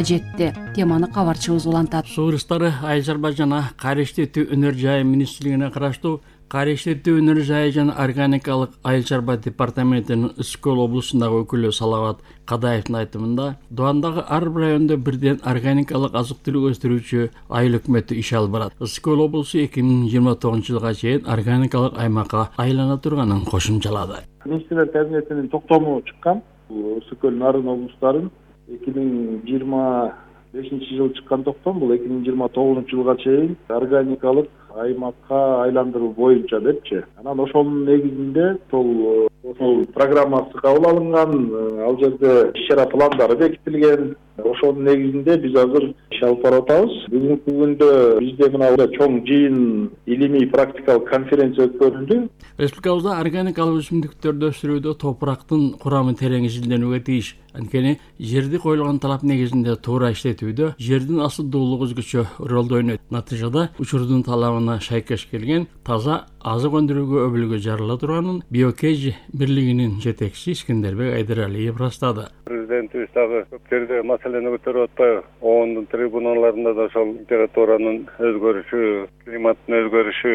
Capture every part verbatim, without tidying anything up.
жетти. Теманы кабарчыбыз улантат. Суу рыстары Айыл чарба жана кайра иштетүү өнөр жайы министрлигине караштуу кайра иштетүү өнөр жайы жана органикалык айыл чарба департаментинин Ысык Көл облусундагы өкүлү Салават Кадаевдин айтымында, Дубандагы ар бир райондо бирден органикалык азык-түлүк өстүрүүчү айыл өкмөтү иш алып барат. Ысык Көл облусу эки миң жыйырма тогузунчу жылга чейин органикалык аймакка айлана турганын кошумчалады. Министрлер кабинетинин токтому чыккан. Ысык Көл нарын облустарын эки миң жыйырма бешинчи жылы чыккан токтом бул эки миң жыйырма тогузунчу жылга чейин органикалык аймакка айландыруу боюнча депчи. Анан ошонун негизинде сол ошол программасы кабыл алынган, ал жерде иш-чара пландары бекитилген. Ошонун негизинде биз азыр иш алып барып атабыз. Бүгүнкү күндө бизде мына чоң жыйын, илимий практикалык конференция өткөрүлдү. Республикабызда органикалык өсүмдүктөрдү өстүрүүдө топурактын курамы терең изилденүүгө тийиш. Анткени жерди коюлган талап негизинде туура иштетүүдө жердин асылдуулугу өзгөчө ролду ойнойт. Натыйжада учурдун талабына шайкеш келген таза азык өндүрүүгө өбүлгө жарыла турганын Биокеж бирлигинин жетекчиси Искендербек Айдаралиев ырастады. Президентибиз дагы көп жерде маселени көтөрүп атпайбы? ООНдун трибуналарында да ошол температуранын өзгөрүшү, климаттын өзгөрүшү,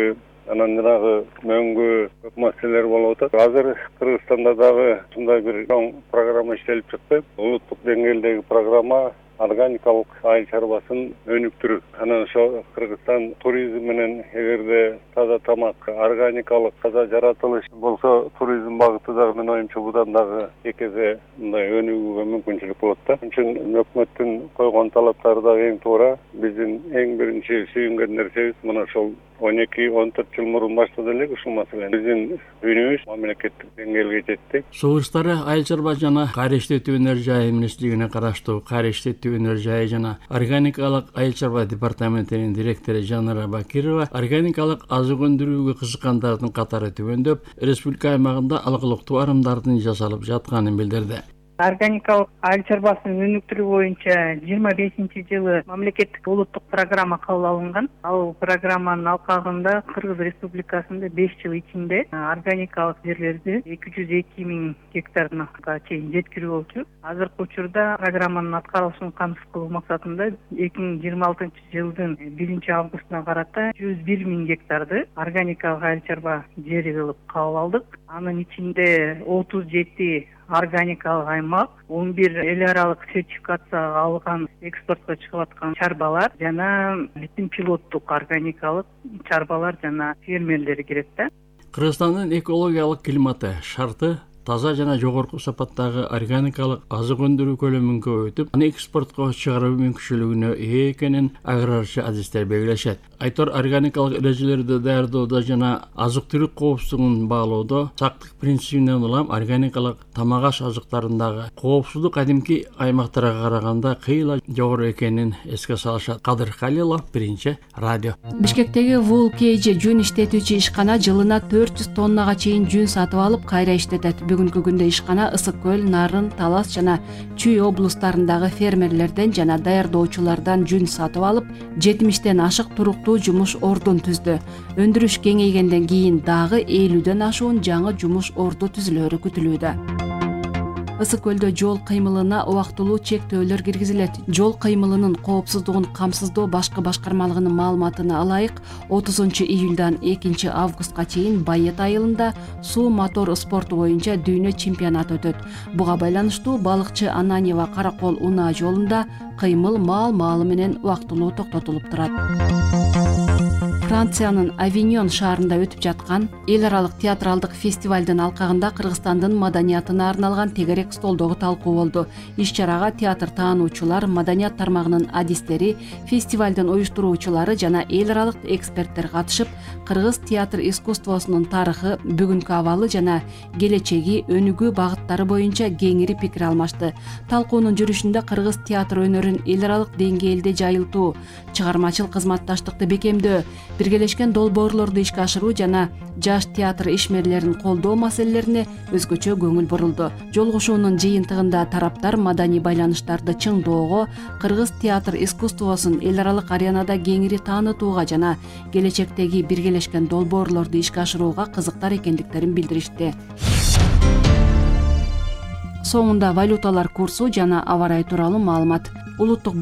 анан жанагы мөңгү көп маселелер болуп атат. Азыр Кыргызстанда дагы ушундай бир чоң программа иштелип чыкты. Улуттук деңгээлдеги программа органикалык айыл чарбасын өнүктүрүү. Анан ошо Кыргызстан туризм менен эгерде таза тамак, органикалык таза жаратылыш болсо, туризм багыты дагы менин оюмча будан дагы эки эсе мындай өнүгүүгө мүмкүнчүлүк болот да. Ошон үчүн өкмөттүн койгон талаптары дагы эң туура. Биздин эң биринчи сүйүнгөн нерсебиз мына ошол он эки он төрт жыл мурун баштады элек ушул маселени. Биздин үнүбүз мамлекеттик деңгээлге жетти. Суу рыстары айыл чарба жана кайра иштетүү өнөр жайы министрлигине караштуу кайра иштетүү өнөр жайы жана органикалык айыл чарба департаментинин директору Жанара Бакирова органикалык азык өндүрүүгө кызыккандардын катары түгөндөп, республика аймагында алгылыктуу арымдардын жасалып жатканын билдирди. Органикалык айыл чарбасын өнүктүрүү боюнча жыйырма бешинчи жылы мамлекеттик улуттук программа кабыл алынган. Ал программанын алкагында Кыргыз Республикасында беш жыл ичинде органикалык жерлерди эки жүз эки миң гектарга чейин жеткирүү болчу. Азыркы учурда программанын аткарылышын камсыз кылуу максатында эки миң жыйырма алтынчы жылдын биринчи августуна карата жүз бир миң гектарды органикалык айыл чарба жери кылып кабыл алдык. Анын ичинде отуз жети органикалык аймак, он бир эл аралык сертификация алган экспортко чыгып аткан чарбалар жана бүтүн пилоттук органикалык чарбалар жана фермерлери кирет да. Кыргызстандын экологиялык климаты шарты таза жана жогорку сапаттагы органикалык азык өндүрүү көлөмүн көбөйтүп, аны экспортко чыгаруу мүмкүнчүлүгүнө ээ экенин аграрчы адистер белгилешет. Айтор органикалык эрежелерди даярдоодо жана азык-түлүк коопсуздугун баалоодо сактык принцибинен улам органикалык тамак аш азыктарындагы коопсуздук кадимки аймактарга караганда кыйла жогору экенин эске салышат. Кадыр Халилов, Биринчи радио. Бишкектеги Вул Кей Жи жүн иштетүүчү ишкана жылына төрт жүз тоннага чейин жүн сатып алып кайра иштетет. Бүгүнкү күндө ишкана Ысык Көл, Нарын, Талас жана Чүй облустарындагы фермерлерден жана даярдоочулардан жүн сатып алып, жетимиштен ашык туруктуу жумуш ордун түздү. Өндүрүш кеңейгенден кийин дагы элүүдөн ашуун жаңы жумуш орду түзүлөрү күтүлүүдө. Ысык Көлдө жол кыймылына убактылуу чектөөлөр киргизилет. Жол кыймылынын коопсуздугун камсыздоо башкы башкармалыгынын маалыматына ылайык, отузунчу июлдан экинчи августка чейин Байет айылында суу мотор спорту боюнча дүйнө чемпионаты өтөт. Буга байланыштуу балыкчы Ананьева Каракол унаа жолунда кыймыл маал-маалы менен убактылуу токтотулуп турат. Франциянын Авиньон шаарында өтүп жаткан эл аралык театралдык фестивалдын алкагында Кыргызстандын маданиятына арналган тегерек столдогу талкуу болду. Иш-чарага театр таануучулар, маданият тармагынын адистери, фестивалдын уюштуруучулары жана эл аралык эксперттер катышып, кыргыз театр искусствосунун тарыхы, бүгүнкү абалы жана келечеги, өнүгүү багыттары боюнча кеңири пикир алмашты. Талкуунун жүрүшүндө кыргыз театр өнөрүн эл аралык деңгээлде жайылтуу, чыгармачыл кызматташтыкты бекемдөө, биргелешкен долбоорлорду ишке ашыруу жана жаш театр ишмерлерин колдоо маселелерине өзгөчө көңүл бурулду. Жолугушуунун жыйынтыгында тараптар маданий байланыштарды чыңдоого, кыргыз театр искусствосун эл аралык аренада кеңири таанытууга жана келечектеги биргелешкен долбоорлорду ишке ашырууга кызыктар экендиктерин билдиришти. соңунда валюталар курсу жана аба ырайы тууралуу маалымат. Улуттук